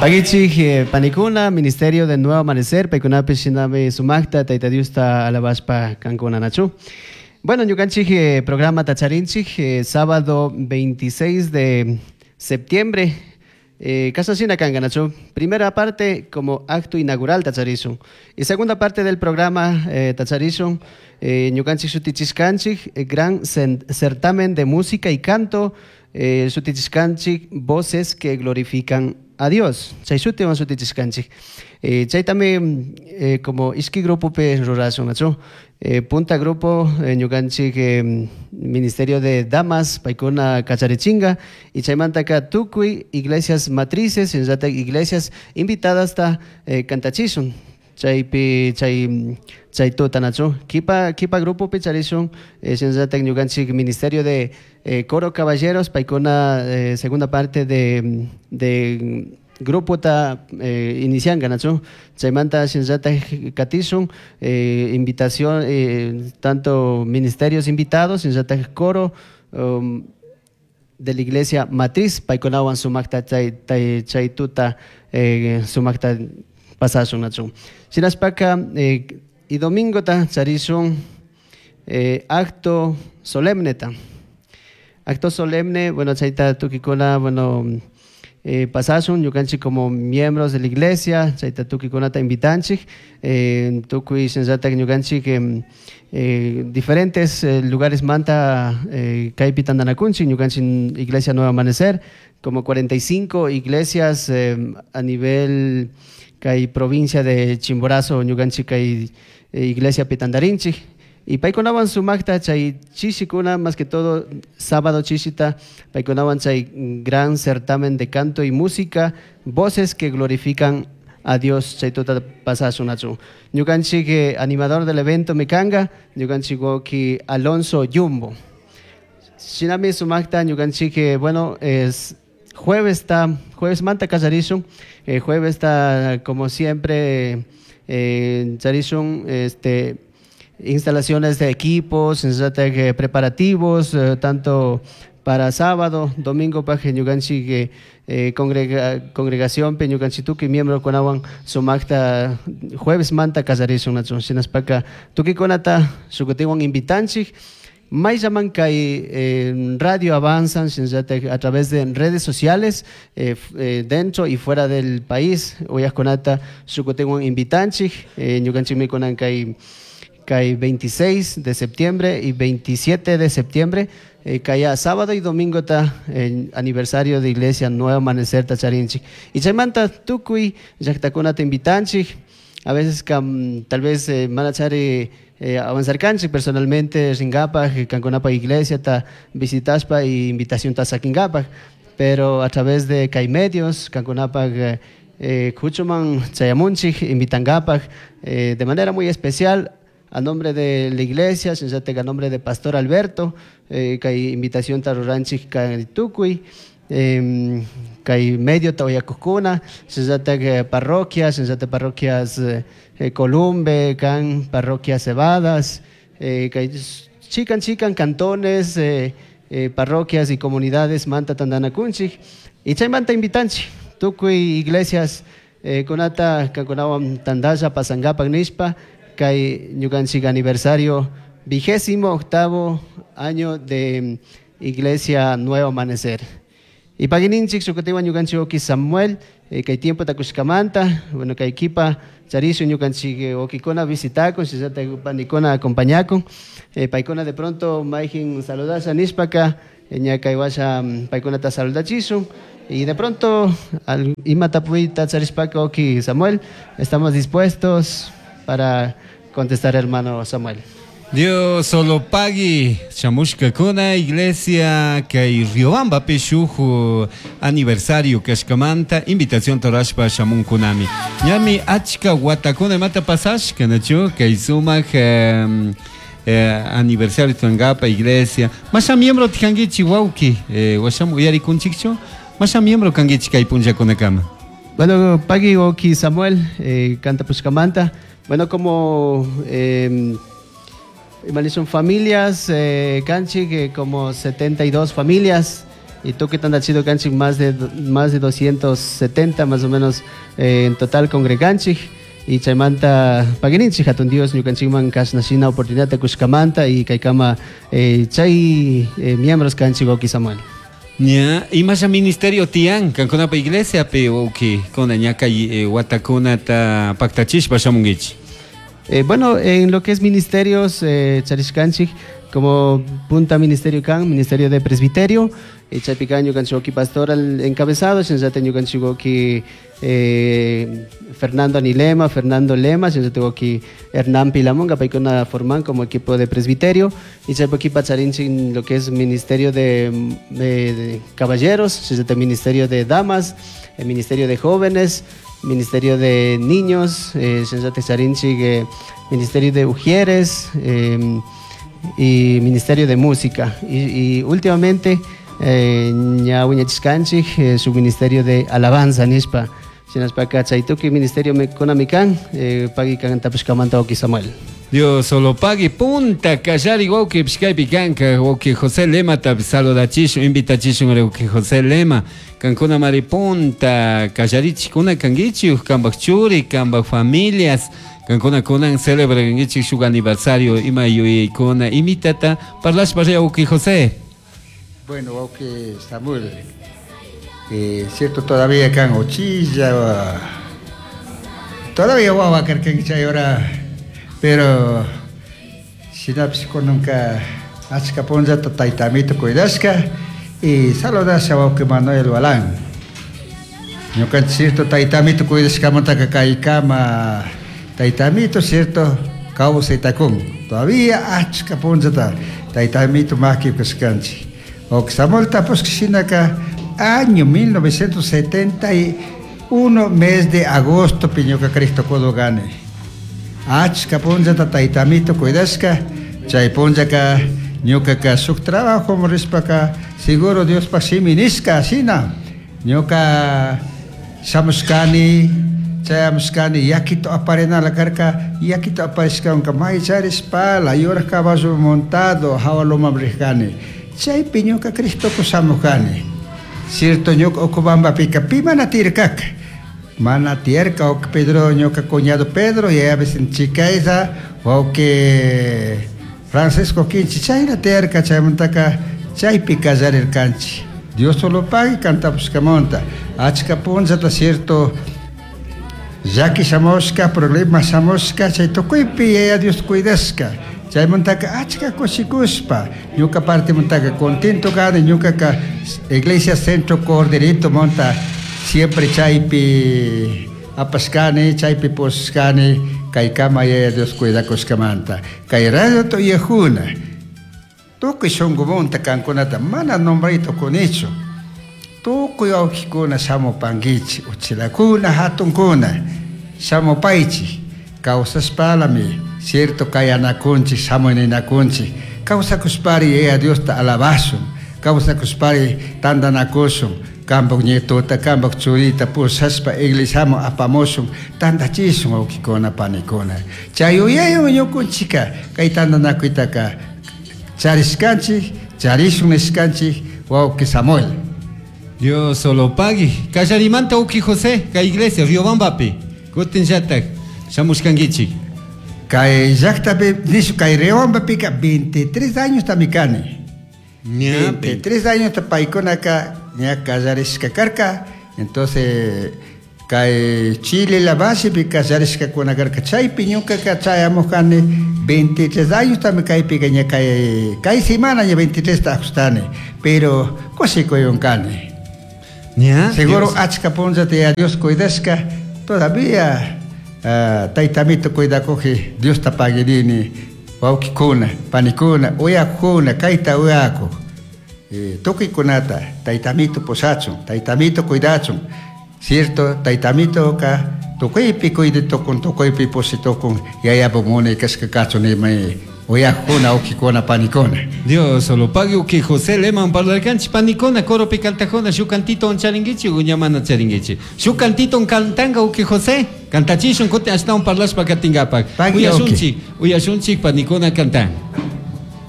Paguichik panikuna, Ministerio de Nuevo Amanecer, paykunapish shinami sumaqta Tayta Diosta alabashpa kankuna nachu. Bueno, ñukanchik programa tacharinchik sábado 26 de septiembre kashna kanka nachu. Primera parte como acto inaugural tacharishun. Y segunda parte del programa tacharishun ñukanchik shutichishkanchik gran certamen de música y canto shutichishkanchik voces que glorifican a Dios. Chay shutiwan shutichishkanchik. Chaytami como ishki grupopi rurashun nachu. Punta grupo ñukanchik Ministerio de Damas paykuna kacharichinga y chaymantaka tukuy iglesias matrices shinallatak iglesias invitadasta cantachishun. Chaypi chay tuta nachu. Kipa grupopi charishun shinallatak ñukanchik Ministerio de Coro Caballeros paykuna segunda parte de grupota inicianka nachu. Chaymanta shinallatak katishun invitación tanto ministerios invitados shinallatak coro de la iglesia matriz paykunawan sumakta chay tuta sumakta pasashun nachu. Shinashpaka y domingota charishun acto solemneta. Acto solemne, bueno, chayta tukikuna, bueno, pasashun ñukanchik como miembros de la iglesia, chayta tukikunata invitanchik, tukuy shinallatak ñukanchik diferentes lugares manta kaypi tantanakunchik, ñukanchik Iglesia Nuevo Amanecer, como 45 iglesias a nivel kay provincia de Chimborazo, ñukanchik kay iglesia pitandarinchik. Y paykunawan sumakta chay chishikuna, más que todo sábado chishita, paykunawan chay gran certamen de canto y música, voces que glorifican a Dios, chay tuta pasashun nachu. Ñukanchik animador del evento mikanga, ñukanchik wawki Alonso Jumbo. Shinami sumakta ñukanchik bueno, es jueves ta, jueves manta kallarishun, jueves ta como siempre charishun instalaciones de equipos, preparativos, tanto para sábado, domingo pa ñukanchik congregación pe ñukanchik tukuy miembro kunawan sumakta jueves manta kallarishun nachu. Shinaspaka tukikunata shukutiwan invitanchik. Mayllaman kay radio avanzan shinallatak a través de redes sociales dentro y fuera del país uyajkunata shukutiwan invitanchik ñukanchikmi kunan kay 26 de septiembre y 27 de septiembre kaya sábado y domingo ta aniversario de Iglesia Nuevo Amanecer ta charinchik. Y chaymanta tukuy llaqtakunata invitanchik. A veces tal vez manachari avanzar kanchik personalmente ringapaj kankunapa iglesia ta visitaspa y invitación ta sakinkapaj, pero a través de kay medios kankunapaj kuchuman chayamunchik invitankapaj de manera muy especial a nombre de la iglesia, shinallatak a nombre de Pastor Alberto, kay invitación ta ruranchik kay tukuy kay medio ta uyakukuna, shinallatak parroquias, shinallatak parroquias Columbe, kan parroquia Cebadas, kay chikan chikan cantones, parroquias y comunidades manta tantanakunchik y chaymanta invitanchik tukuy iglesias kunata kankunawan tantalla pasankapak nishpa kay ñukanchik aniversario 28º año de Iglesia Nuevo Amanecer. Y pagininchik shukutiwan ñukanchik wawki Samuel, kay tiempo takushkamanta, bueno, kay kipa charishun ñukanchik wawkikuna visitakun, shinallatak panikuna acompañakun, paykuna de pronto mayjin saludasha nishpaka, ña kay washa paykunata saludachishun. Y de pronto al ima tapuyta charishpaka wawki Samuel, estamos dispuestos para contestar, hermano Samuel. Dios solo pagui shamushkakuna iglesia kay Riobambapi shuk aniversario kashkamanta invitación torashpa shamunkunami. Ñami achka watakuna imata pasashka nachu kay sumak aniversario tuangapa iglesia. Masha miembro tikankichi wawki, washam uyarikunchikchu? Masha miembro kankichi kay punllakunakama. Bueno, pagui wawki Samuel, canta pushkamanta. Bueno, como son familias, canchi, que como 72 familias. Y tukuy tantachido kanchik más de 270 más o menos en total congreganchik. Y chaymanta paguininchik hatun Dios ñukanchikman kashna shina oportunidad kushkamanta y kaykama chay miembros kanchik, wawki Samuel. Ña, imasha ministerio tiyan kankunapa iglesia pe, wawki, kuna ña kay watakunata paktachishpa shamunkichik. Bueno, en lo que es ministerios, charishkanchik, como punta ministerio kan, ministerio de presbiterio, chaypi kan ñukanchik wawki pastoral encabezado, shinallata ñukanchik wawki Fernando Anilema, Fernando Lema, shinallata wawki Hernán Pilamonga, paykuna forman como equipo de presbiterio, y chaypi charinchik lo que es ministerio de caballeros, shinallata ministerio de damas, el ministerio de jóvenes, ministerio de niños, shinallata charinchik ministerio de ujieres y ministerio de música. Y últimamente, ña wiñachishkanchik su ministerio de alabanza nishpa. Shinashpaka chay tukuy ministerio kunami kan, pagui kan tapushkamanta, wawki Samuel. Dios solo pagui punta kallari wawki pishkaypi kanka wawki José Lema ta saludachishun, invitachishun wawki José Lema. Kankuna mari punta kallarichikuna kankichik, kanpak churi, kanpak familias. Kankuna kunan celebrankichik shuk aniversario ima yuyaykuna imitata parlashpa wawki José. Bueno, wawki Samuel, cierto, todavía kan uchilla, todavía wawa karkanki chay hora, pero shinapish kunanka achka punllata tayta amito cuidashka y saludasha wawki Manuel Walán. Ñukanchik cierto tayta amito cuidashkamantaka kaykama tayta amito cierto kawsaytakun. Todavía achka punllata tayta amito maki kashkanchik. Wawki Samuel tapushka shinaka año 1971 mes de agosto ñuka Cristo kudugani. Achka punllata tayta amito cuidashka, chay punllaka ñukaka shuk trabajo rishpaka seguro Diospaj shimi nishka shina ñuka shamushkani, chayamushkani yakito aparinala karka, yakito aparishkanka may charishpala yuraj caballo montado jawa lomaman rijkani. Chaypi ñuka Cristoko shamujani. Cierto, ñuka Ocobambapika pi mana tiyarkaka. Mana tiyarka wawki Pedro, ñuka cuñado Pedro, y a veces Chicaiza, wawki Francisco Quinchi, chayna tiyarka, chaymantaka chaypi kallarirkanchik. Dios solo pagui kantapushkamanta. Achka punllata cierto llaki shamushka, problema shamushka, chay tukuypi Yaya Dios cuidashka. Chaymantaka achka kushikushpa, ñuka partimantaka contento kani, ñukaka Iglesia Centro Corderito monta siempre chaypi apashkani, chaypi pushkani, kaykama Yaya Dios cuidakushkamanta. Kay radio tuyajuna, tukuy shunkumunta kankunata mana nombrayta kunichu. Tukuy wawkikuna shamupankichik, uchilakuna, hatunkuna, shamupaychik, kawsashpalami, cierto kayanakunchik, shamuninakunchik, kawsakushpari Yaya Diosta alabashun, kawsakushpari tantanakushun, kanpak nietota, kanpak churita pushashpa iglesiaman apamushun, tantachishun wawkikuna, panikuna. Chay yuyaywan ñukunchika kay tantanakuytaka charishkanchik, charishun nishkanchik, wawki Samuel. Dios solo pagui. Kallarimanta wawki José, kay iglesia Riobambapi. Kutin llatak shamushkankichik. Kay llaktapi, nishu kay Riobambapika 23 años tamikani. Ña, 23 años paykunaka ña kallarishka karka. Entonces, kay Chile la base pi kallarishkakuna karka. Chaypi ñukaka chayamujkani 23 años también kaypika ña kay semana ña 23 ta ajustani. Pero kushikuyunkani. Ña, Seguro Dios. achka punllata ya Dios cuidashka, todavía tayta amito cuidakuji Diosta paguirini, wawkikuna, panikuna, uyakuna, kayta uyaku. Tukuykunata tayta amito pushachun, tayta amito cuidachun. Cierto, tayta amitoka tukuypi cuidatukun, tukuypi pushitukun, yayapa munay kashka kachun imay uyakuna, wawkikuna, panikuna. Dios solo pague que José Leman parlarkanchik panikuna, coropi cantajona, shu cantito charinguichi, uñamana charinguichi. Shu cantito cantanga uki José, cantachishun kutin ashtawan parlashpa katingapak. Pagui, Uyashunchik, uyashunchik panikuna cantan.